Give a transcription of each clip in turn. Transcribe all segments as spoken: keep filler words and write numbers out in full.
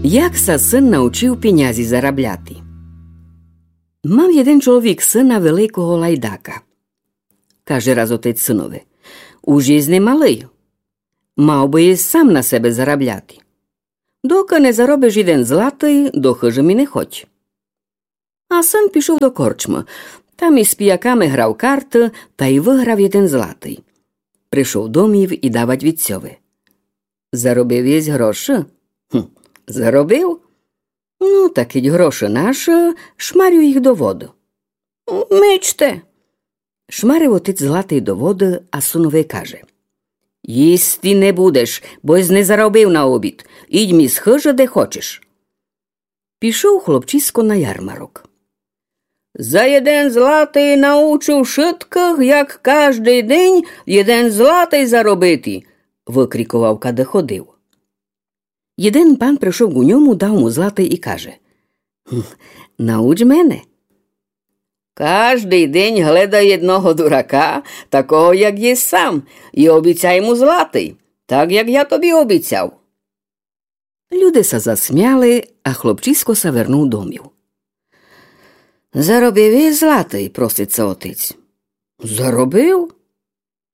Як ся сын научив пінязі зарабляти. Мав єден чоловік сына великого лайдака. Каже раз отець сынови: «Уж єсь не малый. Мав бы єсь сам на себе зарабляти. Докы не заробиш єден златый, до хыжы ми не ходь». А сын пішов до корчмы. Там из піяками грав карты тай выграв єден златый. Пришов домів и давать вітцьови: «Заробив єсь грошы?» «Гм, заробив». «Ну, та кідь грошы нашы, шмарю їх до воды». «Мичте!» Шмарив отець златый до воды, а сынови каже: «Їсти не будеш, бо єсь не заробив на обід. Ідь ми з хыжы, де хочеш». Пішов хлопчисько на ярмарок. «За єден златый научу вшыткых, як каждый день єден златый заробити», выкріковав, кады ходив. Єден пан пришов ку ньому, дав му златый и каже: «Гм, науч мене». «Каждый день гледай єдного дурака, такого, як єсь сам, и обіцяй му златый, так, як я тобі обіцяв». Люде ся засмяли, а хлопчисько ся вернув домів. «Заробив єсь златый?» просить ся отець. «Заробив».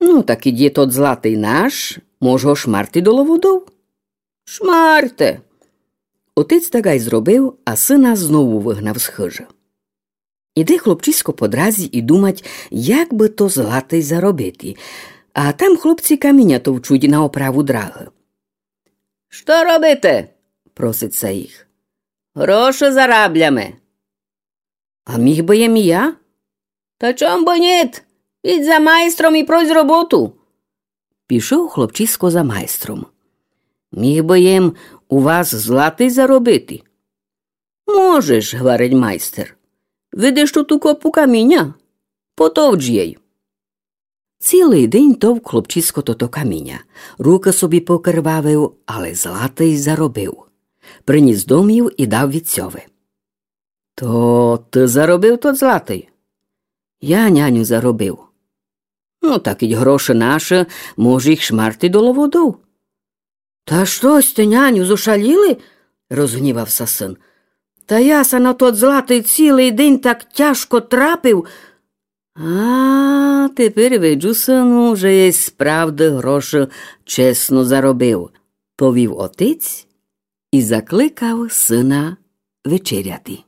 «Ну, та кідь є тот златый наш, мож го шмарти доло водов». «Шмарте». Отець так ай зробив, а сына знову выгнав з хыжы. Іде хлопчисько по дразі и думать, як бы то златый заробити. А там хлопці каміня товчуть на оправу драгы. «Што робите?» просить ся їх. «Грошы зарабляме». «А міг бы єм и я?» «Та чом бы нєт? Ідь за майстром и прось роботу». Пішов хлопчисько за майстром. «Міг бы єм у вас златый заробити?» «Можеш», гварить майстер. «Видиш ту копу каміня? Потовч єй». Цілый день товк хлопчисько тото каміня. Рукы собі покырвавив, але златый заробив. Приніс домів и дав вітцьови. «То ты заробив тот златый?» «Я, няню, заробив». «Ну, та кідь грошы нашы, мож їх шмарти доло водов». «Та што сьте, няню, зошаліли?» розгнівав ся сын. «Та я ся на тот златый цілый день так тяжко трапив». «А, теперь виджу, сыну, же єсь справды грошы чесно заробив», повів отець и закликав сына вечеряти.